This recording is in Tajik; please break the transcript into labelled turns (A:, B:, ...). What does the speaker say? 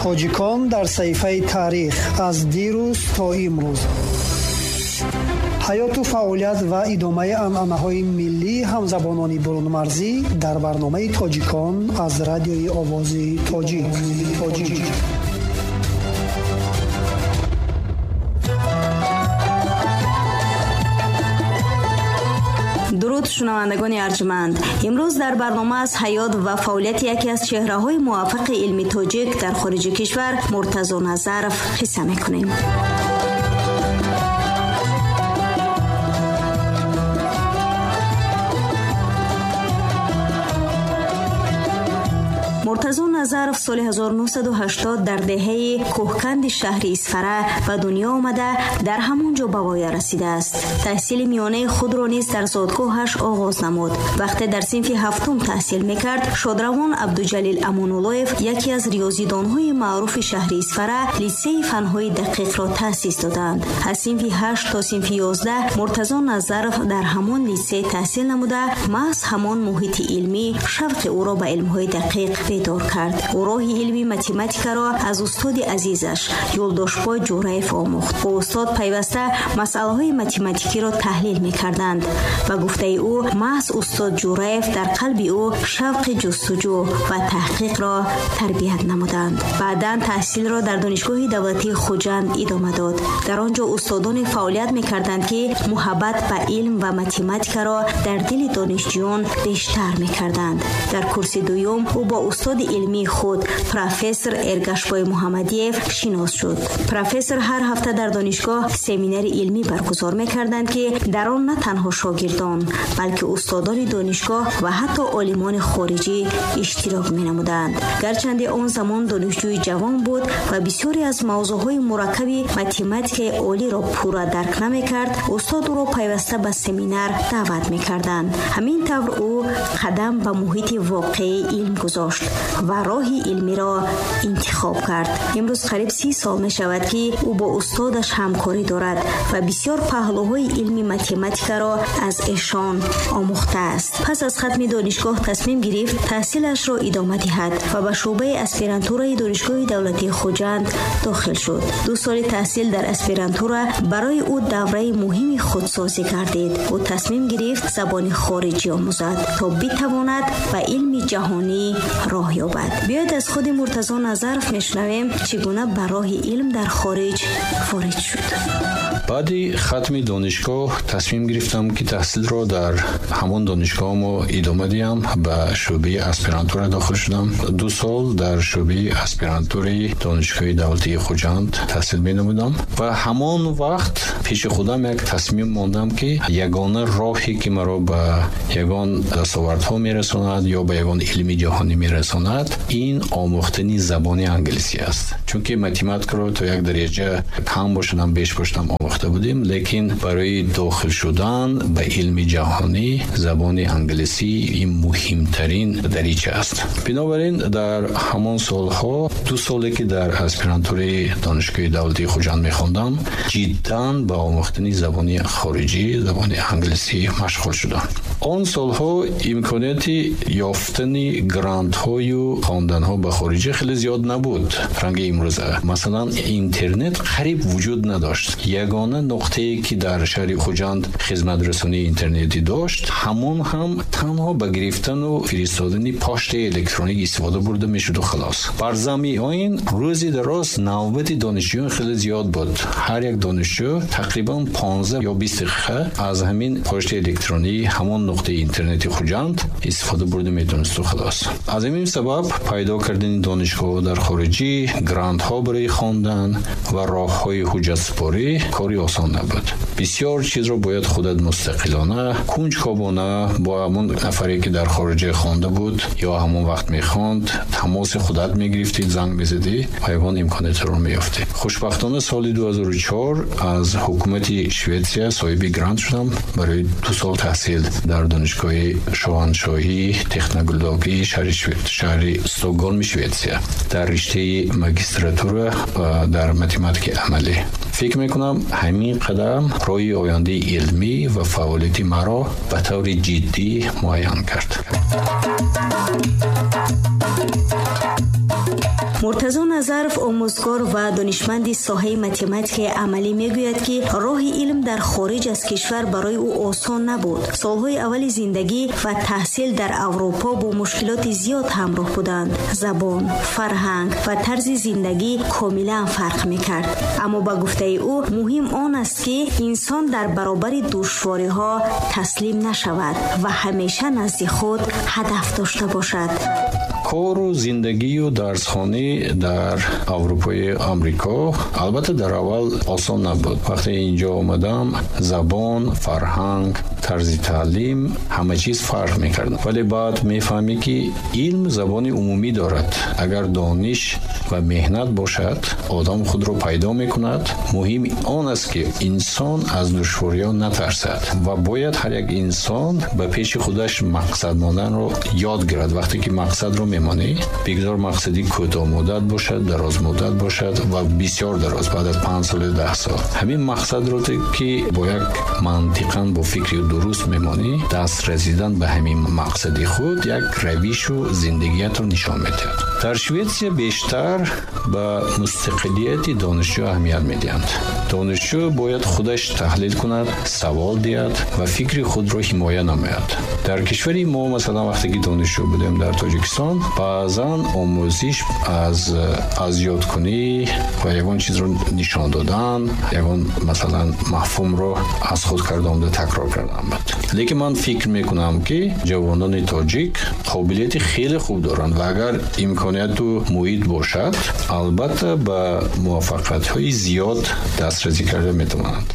A: Тоҷикон дар саҳифаи таърих аз дирӯз то имрӯз. Ҳаёту фаъолият ва идомаи анъанаҳои миллии ҳамзабонони бурунмарзӣ дар барномаи Тоҷикон аз радиои Овози Тоҷик.
B: Дуруд шунавандагони арҷманд. Имрӯз дар барнома аз ҳаёт ва фаъолияти яке аз чеҳраҳои муваффақи илми тоҷик дар хориҷи кишвар Муртазо Назаров қисса мекунем. Муртазо Назаров соли 1980 дар деҳаи Кӯҳканди шаҳри Исфара ба дунё омада, дар ҳамон ҷо ба воя расидааст. Таҳсили миёнаи худро низ дар зодгоҳаш оғоз намуд. Вақте дар синфи ҳафтум таҳсил мекард, шодравон Абдуҷалил Амонуллоев, яке аз риёзидонҳои маъруфи шаҳри Исфара, литсейи фанҳои дақиқро таъсис доданд. Аз синфи 8 то синфи 11 Муртазо Назаров дар ҳамон литсей таҳсил намуда, маҳз ҳамон муҳити илмӣ шавқи ӯро ба илмҳои дақиқ бедор кард. Ӯ роҳи илми математикаро аз устоди азизаш Юлдошбой Ҷӯраев омӯхт. Бо устод пайваста масъалаҳои математикиро таҳлил мекарданд. Ба гуфтаи ӯ, маҳз устод Ҷӯраев дар қалби ӯ шавқи ҷустуҷӯ ва таҳқиқро тарбият намуданд. Баъдан таҳсилро дар Донишгоҳи давлатии Хуҷанд идома дод. Дар он ҷо устодоне фаъолият мекарданд, ки муҳаббат ба илм ва математикаро дар дили донишҷӯён бештар мекарданд. Дар курси дуюм ӯ бо устоди илмии худ профессор Эргашбой Муҳаммадиев шинос шуд. Профессор ҳар ҳафта дар донишгоҳ семинари илмӣ баргузор мекарданд, ки дар он на танҳо шогирдон, балки устодони донишгоҳ ва ҳатто олимони хориҷӣ иштирок менамуданд. Гарчанде он замон донишҷӯи ҷавон буд ва бисёре аз мавзӯъҳои мураккаби математикаи олиро пурра дарк намекард, устод ӯро пайваста ба семинар даъват мекарданд. Ҳамин тавр ӯ қадам ба муҳити воқеии илм гузошт ва роҳи илмиро интихоб кард. Имрӯз қариб 30 сол мешавад, ки ӯ бо устодаш ҳамкорӣ дорад ва бисёр паҳлӯҳои илми математикаро аз эшон омӯхтааст. Пас аз хатми донишгоҳ тасмим гирифт таҳсилашро идома диҳад ва ба шӯъбаи аспирантураи Донишгоҳи давлатии Хуҷанд дохил шуд. 2 соли таҳсил дар аспирантура барои ӯ давраи муҳими худсозӣ гардид. Ӯ тасмим гирифт забони хориҷӣ омӯзад, то битавонад ба илми ҷаҳонӣ роҳ ёбад. Биёед аз худи Муртазо Назаров мешунавем, чӣ гуна ба роҳи илм дар хориҷ ворид шуд.
C: Баъди хатми донишгоҳ тасмим гирифтам, ки таҳсилро дар ҳамон донишгоҳ идома диҳам. Ба шӯъбаи аспирантура дохил шудам. 2 сол дар шӯъбаи аспирантураи Донишгоҳи давлатии Хуҷанд таҳсил менамудам ва ҳамон вақт пеши худам як тасмим мондам, ки ягона роҳе ки маро ба ягон дастовардҳо мерасонад ё ба ягон илми ҷаҳонӣ мерасонад, ин омӯхтани забони англисӣ аст. Чунки математикаро то як дараҷа кам бошадам, беш бошадам омӯхта будем, лекин барои дохил шудан ба илми ҷаҳонӣ забони англисӣ ин муҳимтарин дарича аст. Бинобар ин дар ҳамон солҳо, 2 соле ки дар аспирантураи Донишгоҳи давлатии Хуҷанд мехондам, ҷиддан ба омӯхтани забони хориҷӣ, забони англисӣ машғул шудам. Он солҳо имконияти ёфтани грантҳою хонданҳо ба хориҷӣ хеле зиёд набуд ранги имрӯза. Масалан, интернет қариб вуҷуд надошт. Ягона нуқтае ки дар шаҳри Хуҷанд хизматрасонии интернетӣ дошт, ҳамон ҳам танҳо ба гирифтану фиристодани поштаи электроник истифода бурда мешуду халос. Бар замми ин рӯзи дароз навбати донишҷӯён хеле зиёд буд. Ҳар як донишҷӯ тақрибан 15 ё 20 дақиқа аз ҳамин поштаи электронии ҳамон нуқтаи интернети Хуҷанд истифода бурда метавонисту халос. Аз ҳамин сабаб пайдо кардани донишгоҳ дар хориҷӣ, грантҳо барои хондан ва роҳҳои ҳуҷҷатсупорӣ кори осон набуд. Бисёр чизро бояд худат мустақилона, кунҷкобона бо ҳамон нафаре ки дар хориҷа хонда буд ё ҳамон вақт мехонд, тамоси худат мегирифтӣ, занг мезадӣ ва ягон имкониятро меёфтӣ. Хушбахтона соли 2004 аз ҳукумати Шветсия соҳиби грант шудам барои 2 сол таҳсил дар Донишгоҳи шоҳаншоҳии технологии шаҳри Стокгольми Шветсия дар риштаи магистратура ва дар математикаи амалӣ. Фикр мекунам ҳамин қадам роҳи ояндаи илмӣ ва фаъолияти маро ба таври ҷиддӣ муайян кард.
B: Муртазо Назаров, омӯзгор ва донишманди соҳаи математикаи амалӣ, мегӯяд, ки роҳи илм дар хориҷ аз кишвар барои ӯ осон набуд. Солҳои аввали зиндагӣ ва таҳсил дар Аврупо бо мушкилоти зиёд ҳамроҳ буданд. Забон, фарҳанг ва тарзи зиндагӣ комилан фарқ мекард. Аммо ба гуфтаи ӯ, муҳим он аст, ки инсон дар баробари душвориҳо таслим нашавад ва ҳамеша назди худ ҳадаф дошта бошад.
C: Кору зиндагию дарсхонӣ дар Аврупои Амрико албатта дар аввал осон набуд. Вақте инҷо омадам, забон, фарҳанг, тарзи таълим, ҳама чиз фарқ мекард. Вале баъд мефаҳмӣ, ки илм забони умумӣ дорад. Агар дониш ва меҳнат бошад, одам худро пайдо мекунад. Муҳим он аст, ки инсон аз душвориҳо натарсад ва бояд ҳар як инсон ба пеши худаш мақсад монданро ёд гирад. Вақте ки мақсадро мемонӣ, бигзор мақсади кӯтоҳмуддат бошад, дарозмуддат бошад ва бисёр дароз, баъд аз 5 солу 10 сол, ҳамин мақсадро ки бо як мантиқан, бо фикри дуруст мемонӣ, даст расидан ба ҳамин мақсади худ як равишу зиндагиятро нишон медиҳад. Дар Шветсия бештар ба мустақилияти донишҷӯ аҳамият медиҳанд. Донишҷӯ бояд худаш таҳлил кунад, савол диҳад ва фикри худро ҳимоя намояд. Дар кишвари мо, масалан, вақте ки донишҷӯ будем дар Тоҷикистон, баъзан омӯзиш аз ёдкунӣ ва ягон чизро нишон додан, ягон, масалан, мафҳумро аз худ карда омда такрор кардан буд. Лекин ман фикр мекунам, ки ҷавонони тоҷик қобилияти хеле хуб доранд ва агар имконияту муҳит бошад, албатта ба муваффақиятҳои зиёд дастрасӣ карда метавонанд.